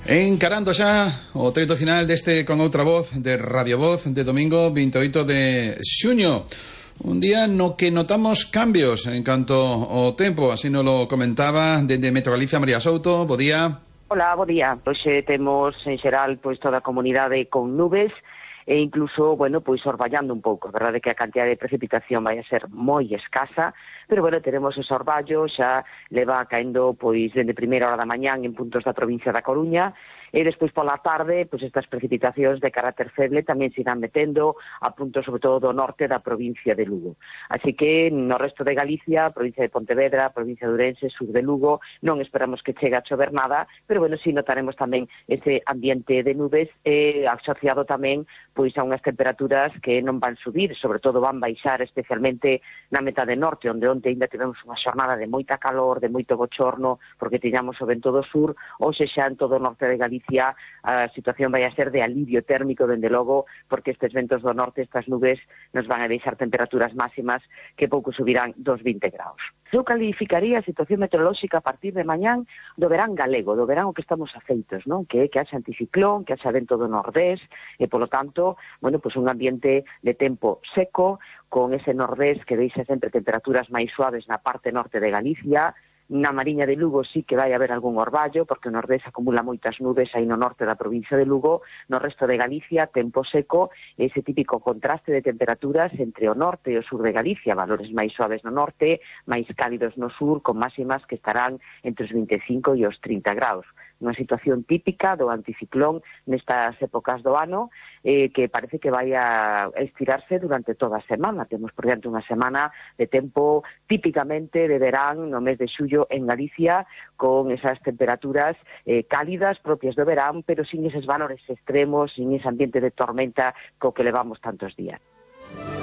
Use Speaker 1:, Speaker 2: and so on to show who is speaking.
Speaker 1: Encarando xa o treito final deste Con Outra Voz de Radio Voz de domingo 28 de xuño. Un día no que notamos cambios en canto ao tempo, así nos lo comentaba dende Metro Galicia María Souto. Bo día.
Speaker 2: Hola, bo día. Pois temos en xeral toda a comunidade con nubes e incluso, pois orballando un pouco. A verdade é que a cantidad de precipitación vai a ser moi escasa, pero teremos ese orballo, xa leva caendo dende primeira hora da mañán en puntos da provincia da Coruña, e despois pola tarde, estas precipitacións de carácter feble tamén se irán metendo a puntos sobre todo do norte da provincia de Lugo. Así que no resto de Galicia, provincia de Pontevedra, provincia de Ourense, sur de Lugo, non esperamos que chegue a chover nada, pero si notaremos tamén ese ambiente de nubes asociado tamén a unhas temperaturas que non van subir, sobre todo van baixar especialmente na metade norte, onde ainda tivemos unha xornada de moita calor, de moito bochorno, porque tiñamos o vento do sur. Hoxe xa en todo o norte de Galicia a situación vai a ser de alivio térmico, dende logo, porque estes ventos do norte, estas nubes, nos van a deixar temperaturas máximas que pouco subirán dos 20 graus. Eu calificaría a situación meteorolóxica a partir de mañán do verán galego, do verán o que estamos afeitos, non? Que haxa anticiclón, que haxa vento do nordés, e polo tanto, un ambiente de tempo seco, con ese nordés que deixa sempre temperaturas máis suaves na parte norte de Galicia. Na Mariña de Lugo sí que vai haber algún orballo, porque o nordés acumula moitas nubes aí no norte da provincia de Lugo. No resto de Galicia, tempo seco, ese típico contraste de temperaturas entre o norte e o sur de Galicia, valores máis suaves no norte, máis cálidos no sur, con máximas que estarán entre os 25 e os 30 graus. Unha situación típica do anticiclón nestas épocas do ano, que parece que vai a estirarse durante toda a semana. Temos por diante unha semana de tempo típicamente de verán no mes de xullo en Galicia, con esas temperaturas cálidas propias do verán, pero sin eses valores extremos, sin ese ambiente de tormenta co que levamos tantos días.